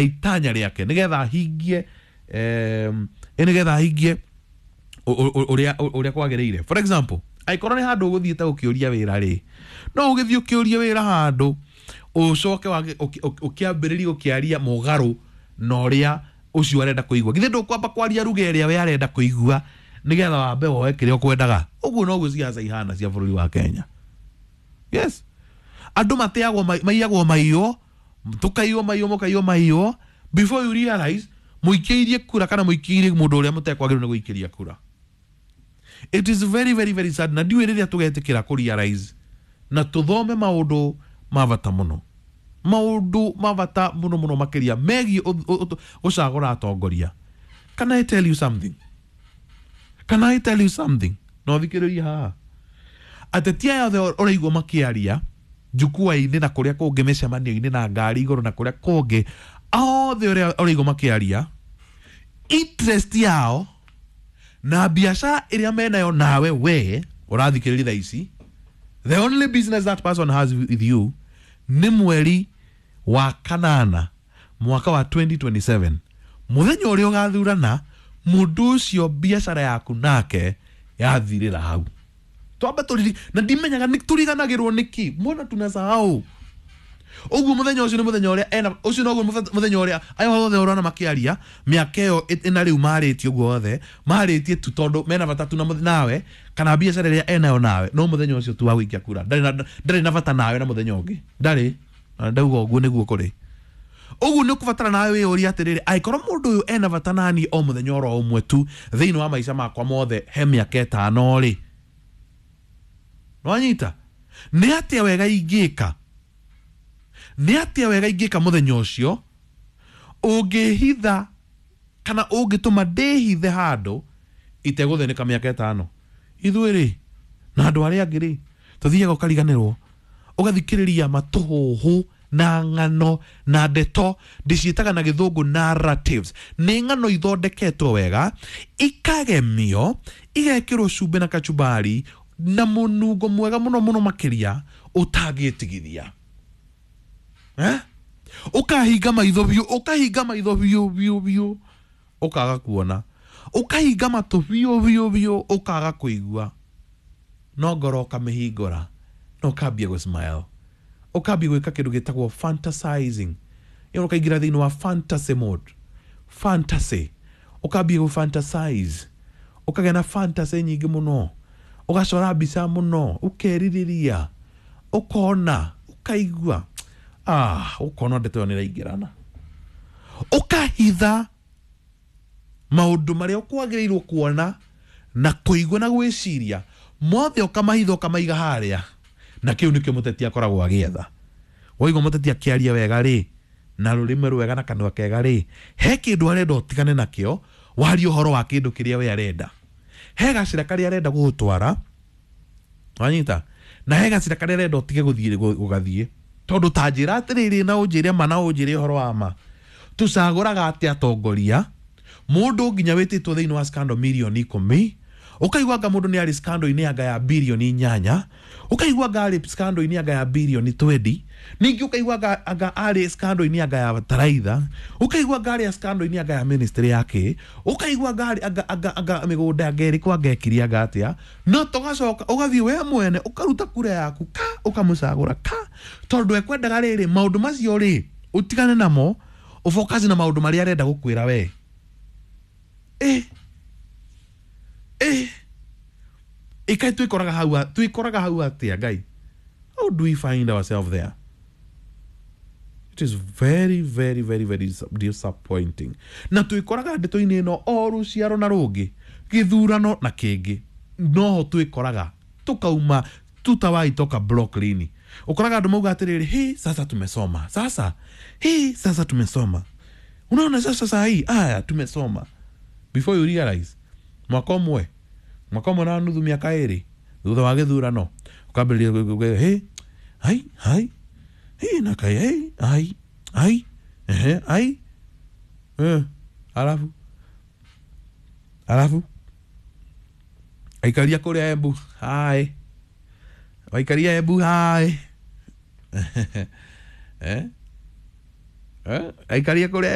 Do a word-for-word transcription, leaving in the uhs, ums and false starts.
Itanya rĩake nĩgetha ahingie em, nĩgetha ahingie ũrĩa ũrĩa kwagĩrĩire. For example, angĩkorwo nĩ handũ ũgũthiĩte gũkĩũria wĩra rĩ, no ũgĩthiĩ ũkĩũrie wĩra handũ, ũcoke ũkĩambĩrĩria gũkĩaria mũgarũ na ũrĩa ũcio arenda kũigua. Githĩ ndũkwamba kwaria ruga ĩrĩa we arenda kũigua nĩgetha wambe woe kĩrĩa ũkwendaga? Ũguo noguo ciaca ihana cia bũrũri wa Kenya. Yes, andũ mateagwo, maiyagwo maiywo, tũkaiywo maiywo, mũkaiywo maiywo. Before you realize, mũikĩirie kura kana mũikĩirie mũndũ ũrĩa mũtekwagĩrĩirwo nĩ gũikĩria kura. It is very, very, very sad, na ndiũĩ rĩrĩa tũgetĩkĩra kũ realize na tũthome maũndũ ma bata mũno, maũndũ ma bata mũno mũno makĩria megiĩ gũcagũra atongoria. Can I tell you something? Can I tell you something? No thikĩrĩria haha, ateti aya othe ũraigua makĩaria njukua-inĩ na kũrĩa kũngĩ, mĩcemanio-inĩ na ngari igũrũ na kũrĩa kũngĩ, othe ũrĩa ũraigua makĩaria, interest yao na biacara ĩrĩa menayo nawe we ũrathikĩrĩria thaa ici, the only business that person has with you nĩ mweri wa kanana mwaka wa twenty twenty-seven, mũthenya ũrĩa ũgathurana. Mũndũ ũcio biacara yaku nake yathirĩra hau. Twambe tũriri na ndimenyaga nĩ tũriganagĩrwo nĩkĩ. Mbona tunasahau ũguo? Mũthenya ũcio nĩ mũthenya ũrĩa ena ũcio noguo mũthenya ũrĩa aya othe ũrona makĩaria mĩaka ĩyo ĩna rĩu marĩtie ũguo othe marĩtie tu tondũ mena bata tu na nawe kana biacara ĩrĩa enayo nawe. No mũthenya ũcio tu wa gũikia kura, ndarĩ na ndarĩ na bata nawe na mũthenya ũngĩ ndarĩ. Na ndauga ũguo nĩguo kũrĩ. Ũguo nĩ ũkũbatara nawe wĩyũrie atĩrĩrĩ, angĩkorwo mũndũ ũyũ ena bata nani o mũthenya oro ũmwe tu thĩinĩ wa maica makwa mothe he mĩaka ĩtano rĩ, nwanyita nĩ atĩa wega ingĩka? Nĩ atĩa wega ingĩka mũthenya ũcio ũngĩhitha kana ũngĩtũma ndĩhithe handũ itegũthĩnĩka mĩaka ĩtano? Ithuĩ rĩ na andũ arĩa angĩ rĩ, tũthiaga ũkariganĩrwo, ũgathikĩrĩria matũhũhũ na ng'ano na ndeto ndĩciĩtaga na gĩthũngũ narratives. Nĩ ng'ano ithondeketwo wega, ikagemio, igekĩrwo cumbĩ na kachumbari na mũnungo mwega mũno mũno makĩria ũtangĩtigithia, eh? Ũkahinga maitho biũ, ũkahinga maitho biũ biũ biũ, ũkaga kuona, ũkahinga matũ biũ biũ biũ, ũkaga kũigua, no ngoro ũkamĩhingũra na ũkambia gũ smile, ũkambia gwĩka kĩndũ gĩtagwo fantasizing. Ĩyo ũkaingĩra thĩinĩ wa fantasy mode, fantasy, ũkambia gũ fantasize, ũkagĩa na fantasy nyingĩ mũno, ũgacora mbica mũno, ũkerirĩria, ũkona, ũkaigua, ah, ũkona ndeto ĩyo nĩ ĩraingĩrana, ũkahitha maũndũ marĩa ũkwagĩrĩirwo kuona na kũigua na gwĩciria mothe, ũkamahitha, ũkamaiga harĩa. Na kĩu nĩkĩo mũteti akoragwo agĩetha. Waigua mũteti akĩaria wega rĩ, na rũrĩmĩ rwega na kanua kega rĩ, he kĩndũ arenda ũtigane nakĩo, warie ũhoro wa kĩndũ kĩrĩa we arenda. He gacĩra karĩa arenda gũgũtwara, wanyita, na he gacĩra karĩa arenda ũtige gũthiĩ gũgathiĩ. Tondũ ta njĩra atĩrĩrĩ, na ũnjĩre ma, na ũnjĩre ũhoro wa ma, tũcagũraga atĩa atongoria? Mũndũ nginya wĩtĩtwo thĩinĩ wa scandal mirioni ikũmi, ũkaigua anga mũndũ nĩ arĩ scandal-inĩ anga ya birioni inyanya, ũkaigua anga arĩ scandal-inĩ anga ya birioni twendi, ningĩ ũkaigua anga, anga arĩ scandal-inĩ anga ya bataraitha, ũkaigua anga arĩ scandal-inĩ anga ya ministry yake, ũkaigua anga arĩ anga, anga, anga mĩgũnda anga ĩrĩkũ, anga ekire anga atĩa. No tũgacoka ũgathiĩ we mwene ũkaruta kura yaku ka ũkamũcagũra ka tondũ ekwendaga rĩrĩ maũndũ macio rĩ ũtigane namo, ũfocus na maũndũ marĩa arenda gũkwĩra we. eh eh ĩkaĩ twĩkoraga hau, twĩkoraga hau atĩa, Ngai? How do we find ourselves there? It is very, very, very, very disappointing. Na twĩkoraga ndeto-inĩ ĩno o rũciaro na rũngĩ, gĩthurano na kĩngĩ, noho twĩkoraga tukauma tutawahi toka block lini. Ũkoraga andũ mauga atĩrĩrĩ, "Hi, sasa tumesoma, sasa hi, sasa tumesoma, unaona sasa saa hii aya tumesoma." Before you realize, mwaka ũmwe, mwaka ũmwe na nuthu, mĩaka ĩrĩ thutha wa gĩthurano, ũkambĩrĩria, "Hey, hai hai hii na kai hey, ai ai ehe ai eh." Alafu alafu aikaria kũrĩa Embu hai, waikaria Embu hai, eh. Eh, aikarie kũrĩa.